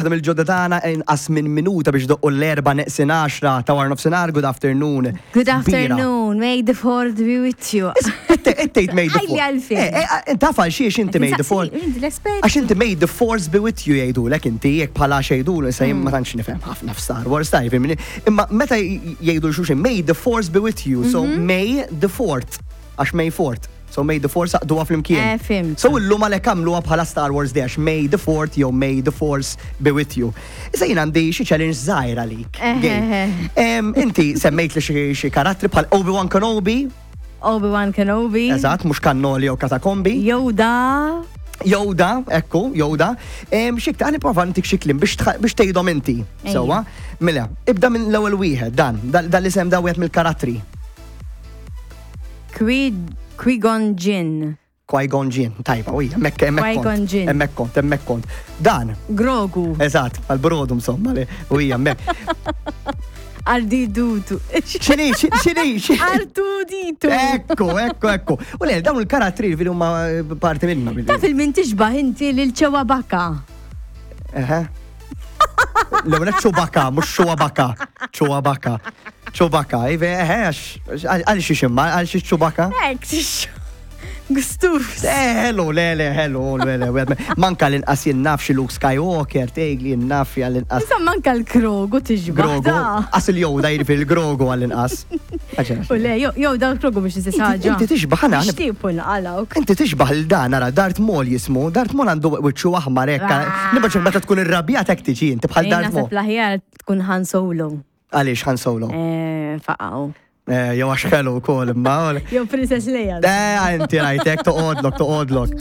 Waħda mill-ġodda tagħna inqas minn minuta biex doqqu l-erba' neqsin għaxra ta' wara nofsinhar. Good afternoon. Good afternoon, may the fourth be with you. Ittejt may the fourth. Għalfejn. Eh, eh, taf għal xiex inti may the fourth. Għax inti may the force be with you jgħidulek inti jekk bħala xejdu issa jien ma hmm. tantx nifhem ħafna f'Star Wars tajb. Imma meta jgħidu xulxin may the force be with you, so mhm. may the fourth għax May 4th. So May the Force għaqduha flimkien. Eh, fimt. So illum għalhekk għamluha bħala Star Wars Day għax May the 4th jew May the Force be with you. Issa jien għandi xi challenge żgħir għalik. Eh, Gabe. eh, eh. Inti semmejt li xi- xi karattri bħal Obi-Wan Kenobi, Obi-Wan Kenobi. eżatt, mhux Cannoli jew Katakombi. Yoda. Yoda, ekku, Yoda. Xik ta' nipprova ntik xi kliem biex tħ- biex tgħidhom inti. Ejja. Sewwa? Mela, ibda minn l-ewwel wieħed, dan, dan dan l-isem da wieħed mill-karattri. Qui-Gon Jinn. Qui-Gon Jinn, tajba, u hemmhekk hemmhekk kont. Qui-Gon Jinn. Hemmhekk kont, hemmhekk kont. Dan. Grogu. Eżatt, għal-brodu insomma, li u hija hemmhekk. Ardidutu. X'inhi, x'inhi, Artuditu. Ekku, ekku, ekku. U le, dawn il-karattri li huma parti minna. Taf il-min tixbah inti lil Chewbacca. Eħe. L-ewwel Chewbacca, mhux Chewbacca. Chewbacca. Chewbacca, ive, eħe, għal xiex imma, għal xiex Chewbacca? Ek, Gustuf. Eh, hello, le, le, hello, le, le, manka l-inqas jien naf xi Luke Skywalker, tgħidli jien naf għall-inqas. Insomma, manka l-Krogu tiġba. Grogu, qas il-Yoda jiġifieri l-Grogu għall-inqas. U le, jew dan Grogu biex istess ħaġa. Inti tixbaħ għana. Xtiepu nqalawk. Inti tixbaħ il dan, ara, Darth Maul jismu, Darth Maul għandu wiċċu aħmar hekk. Ah. Nibgħat meta tkun irrabjat hekk tiġi inti bħal Darth Maul. Naħseb l-aħjar tkun Han Solo. Għaliex Han Solo? Eh, faqgħu. Eh, jew għax ħelu wkoll imma. Jew Princess Leia. Eh, inti rajtek toqgħodlok, toqgħodlok.